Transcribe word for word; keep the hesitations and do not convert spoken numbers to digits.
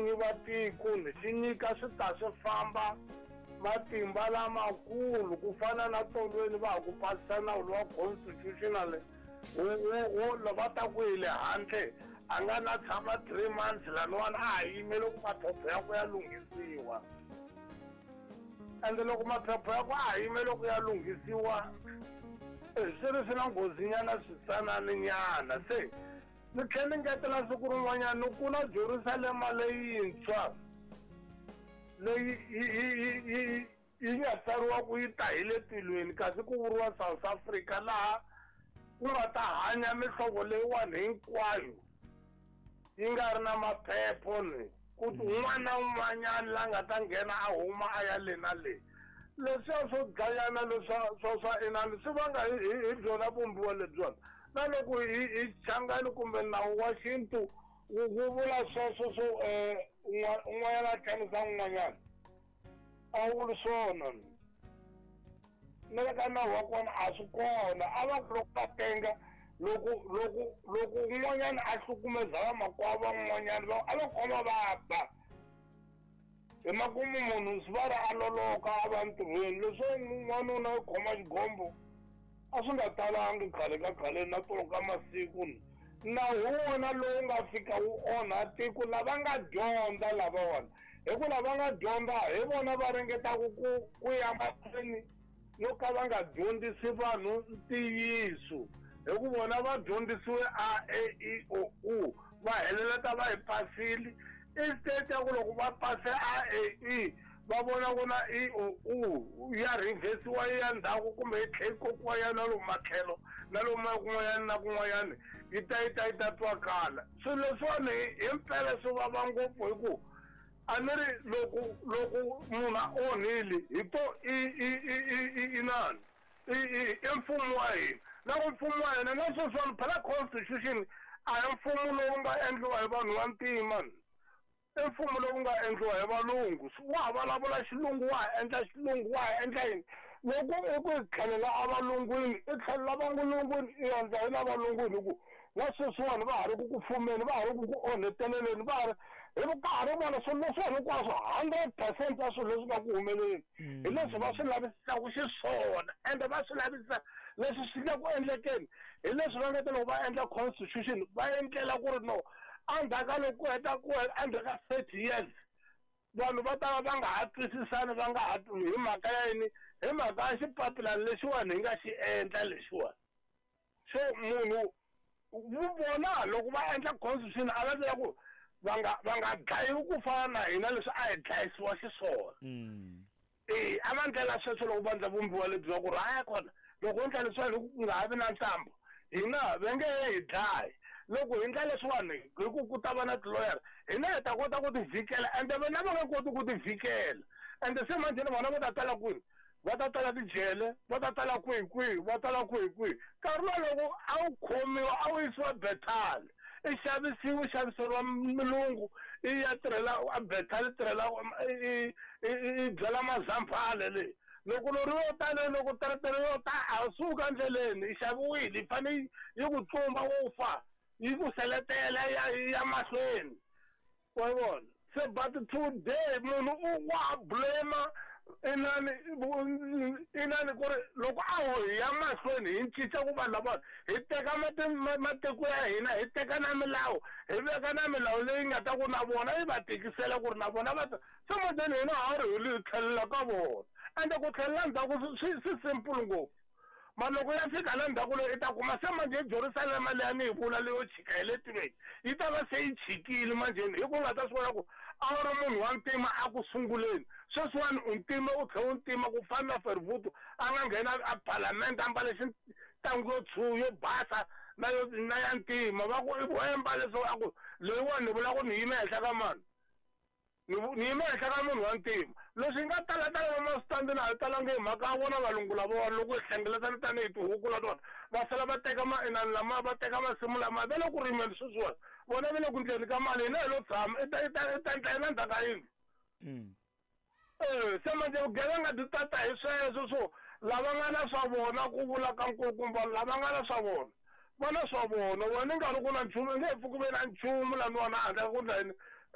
vinyi va tiko ni xi nyika swi ta swi famba matimba lamakulu ku fana na tolweni va ha ku pasisa nawu lowa constitutional wo va ta ku hi le handle a nga na tshama three months laniwani a ha yimele ku maphepha ya ku ya lunghisiwa ende loko maphepha ya ku a ha yimele ku ya lunghisiwa swi ri swi na nghozinyana switsananinyana se ni tlhela ni ngetela siku rin'wanyana ni ku na Jerusalema leyintshwa leyi yi yi yi nga tsariwa ku yi ta hi le tilweni kasi ku vuriwa South Africa laha ku nga ta hanya mihlovo leyiwani hinkwayo yi nga ri na maphepho ni ku un'wana na un'wanyana la nga ta nghena a huma a ya le na le leswiya swo dlayana leswa swa swa inani swi vanga hi hi byona vumbiwa lebyiwani na loko hi hi changani kumbe nawu wa xintu wu vula sweswo swo un'wanyana a tlangisa un'wanyana a wu vuli swona na le ka nawu wa kona a swi kona a va ku loko va tenga loko loko loko un'wanyana a hlukumeza vamakwavo van'wanyana va a va khoma va ba hi makumu munhu swi va ri a loloka a va ntirhweni leswo n'wanuna u khoma xigombo a swi nga talangi khale ka khale na tolo ka masiku nawu wona lowu nga fika wu onha tiko lava nga dyondza lavawani hi ku lava nga dyondza hi vona va ringetaka ku ku ya mahlweni no ka va nga dyondzisi vanhu ntiyiso hi ku vona va dyondzisiwe a e i o u va heleleta va yi pasile instead ya ku loko va pase a e i va vona ku na i o u ya reversiwa yi ya ndzhaku kumbe yi tlhe yi kokiwa ya na lomu matlhelo na lomu kun'wanyana na kun'wanyana yi ta yi ta yi ta twakala swilo leswiwani hi mpela swi vava ngopfu hi ku a ni ri loko loko munhu a onhile hi to i i i i inani i i mfumo wa hina na ku mfumo wa hina na sweswiwani phela constitution a hi mfumo lowu nga endliwa hi vanhu va ntima i mfumo lowu nga endliwa hi valungu wa ha vulavula xilungu wa ha endla xilungu wa ha endla yini loko i ku hi tlhelela avalungwini i tlhelela valungwini i endla hi la valungwini hi ku na sweswiwani va ha ri ku ku fumeni va ha ri ku ku onheteleleni va ha ri hi ka ha ri vona swilo leswiwani hinkwaswo hundred percent ya swilo leswi nga ku humeleni hi leswi va swi lavisisaka xiswona ende va swi lavisisa leswi swi nga ku endlekeni hi leswi va nga ta loko va endla constitution va endlela ku ri no endzhaku ka loko ku heta ku endzhaku ka thirty years vanhu va ta va va nga ha twisisani va nga ha hi mhaka ya yini hi mhaka ya xipapilani lexiwani hi nga xi endla lexiwani so munhu vona loko va endla constitution a va endlela ku va nga va nga dlayiwi ku fana na hina leswi a hi dlayisiwa xiswona e a va ndlela sweswo loko va endla vumbiwa lebyi va ku ri haya kona loko endla leswiwani ku nga ha vi na ntambu hina va nge he hi dlayi loko hi endla leswiwani hi ku ku ta va na tiloyara hina hi ta kota ku ti vhikela ende vona va nga koti ku ti vhikela ende se manjheni vona va ta tala kwini va ta tala tijele va ta tala kwihi kwihi va tala kwihi kwihi nkarhi lowu loko a wu khomiwa a wu yisiwa Bethal i xavisiwa i xaviseriwa mulungu i ya tirhela a Bethal tirhela i i byala mazambhale leyi loko lori yo ta leyi loko teretere yo ta a suka endleleni i xaviwile yi fanele yi ku tlumba u fa yi ku seletela ya ya mahlweni wa vona se but today munhu u wa blame inani inani ku ri loko a ho hi ya mahlweni hi cinca ku vanhu lava hi teka matiko ya hina hi teka na milawu hi veka na milawu leyi nga ta ku na vona yi va tikisela ku ri na vona va se manjheni hina ha ri hi tlhelela ka vona ende ku tlhelela ndzhaku swi swi simple ngopfu ma loko ya fika la ndzhaku leyi i ta kuma se manjhe Jerusalema leyi a ni yi vula leyo chika hi le tilweni yi ta va se yi chikile manjheni hi ku nga ta swi vona ku a wu ri munhu wa ntima a ku sunguleni sweswiwani u ntima u tlhe u ntima ku fana na Fervuto a nga nghena a palamende a mbale xitangu yo tshu yo basa na yo na ya ntima va ku i voemba leswo a ku leyiwani ni vula ku ni yime henhla ka mani ni yime henhla ka munhu wa ntima leswi nga tala tala va na hi talangi hi mhaka ya vona valungu lavawani loko hi hlengeletana tanihi tihuku latona va sala va teka mainani lama va teka masimu lama va le ku rimeni sweswiwani vona va le ku ndleni ka mali hina hi lo tshama i ta i ta i ta endla yini endzhaku ka yindlu e se manjhe vugevenga byi tata hi sweswo swo lava nga na swa vona ku vula ka nkulukumba lava nga na swa vona va na swa vona wena i nga ri ku na nchumu i nge he pfuki ve na nchumu laniwani a handle ka ku ndla yini